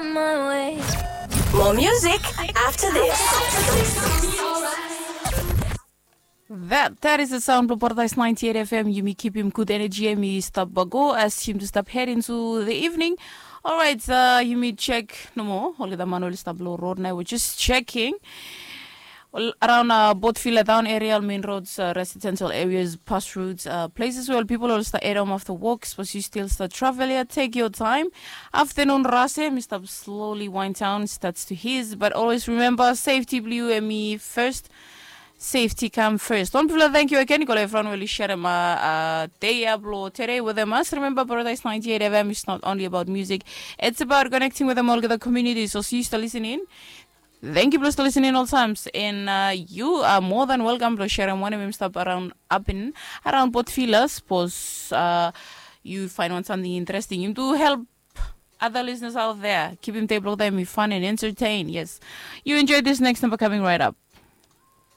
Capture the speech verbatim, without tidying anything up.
More music after this. That, that is the sound blong Paradise ninety-eight F M. Yumi kipim gud energy, yumi stap bago as yumi stap head into the evening. Alright, uh, yumi check nomo olgeta man oli stap long road nao. We're just checking. Well, around uh, Botvila town area, main roads, uh, residential areas, past roads, uh, places where people will start head home after work, suppose you still start travel here, take your time. Afternoon rase, mi stop slowly wind down, starts to his, but always remember safety blue and me first. Safety come first. One people thank you again. Yu go everyone will share my uh, day up lo today with them. Must remember Paradise ninety-eight F M is not only about music, it's about connecting with them all the communities. So see you still listening. Thank you, Blues, for listening all times. And uh, you are more than welcome to share one of them stop around up in around Port Vila. Suppose uh, you find one something interesting. You do help other listeners out there. Keep him table time, be fun and entertain. Yes. You enjoy this next number coming right up.